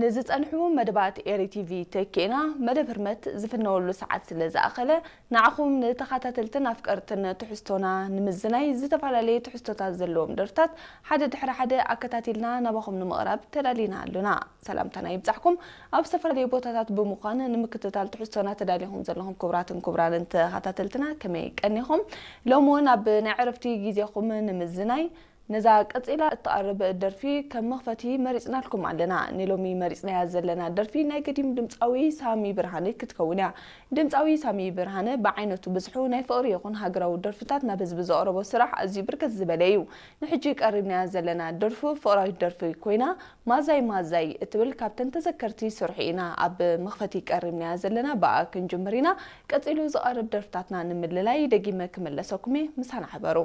ንዝጸንሑ መደባት ኤሪ ቲቪ ተኪእና መደብ ህርመት ዝፍነወሉ ሰዓት ስለ ዝኣኸለ፣ ንዓኹም ንተኸታተልትን ኣፍቀርትን ትሕዝቶና ንምዝናይ ዝተፈላለየ ትሕዝቶታት ዘለዎም ደርፍታት ሓደ ድሕሪ ሓደ ኣከታቲልና ናባኹም ንምቕራብ ተዳሊና ኣሎና። ሰላምታና ይብጻሕኩም። ኣብ ዝተፈላለየ ቦታታት ብምዃን ንምክትታል ትሕዝቶና ተዳሊኹም ዘለኹም ክቡራትን ክቡራንን ተኸታተልትና ከመይ ቀኒኹም? ሎሚ እውን ኣብ ናይ ዕረፍቲ ግዜኹም ንምዝናይ ነዛ ቀጺላ እትቐርብ ደርፊ ከም መኽፈቲ መሪጽናልኩም ኣለና። ንሎሚ መሪጽናያ ዘለና ደርፊ ናይ ገዲም ድምጻዊ ሳሚ ብርሃነ ክትከውን እያ። ድምጻዊ ሳሚ ብርሃነ ብዓይነቱ ብዝሑ ናይ ፍቕሪ ይኹን ሃገራዊ ደርፍታት ናብ ህዝቢ ዘቕረቦ ስራሕ ኣዝዩ ብርክት ዝበለ እዩ። ንሕጂ ቀሪብናያ ዘለና ደርፉ ፍቕራዊት ደርፊ ኮይና፣ ማዛይ ማዛይ እትብል ካብተን ተዘከርቲ ስርሑ ኢና ኣብ መኽፈቲ ቀሪብናያ ዘለና። ብኣ ክንጅምር ኢና። ቀጺሉ ዝቐርብ ደርፍታትና ንምልላይ ደጊመ ክምለሰኩም እየ። ምሳና ሕበሩ።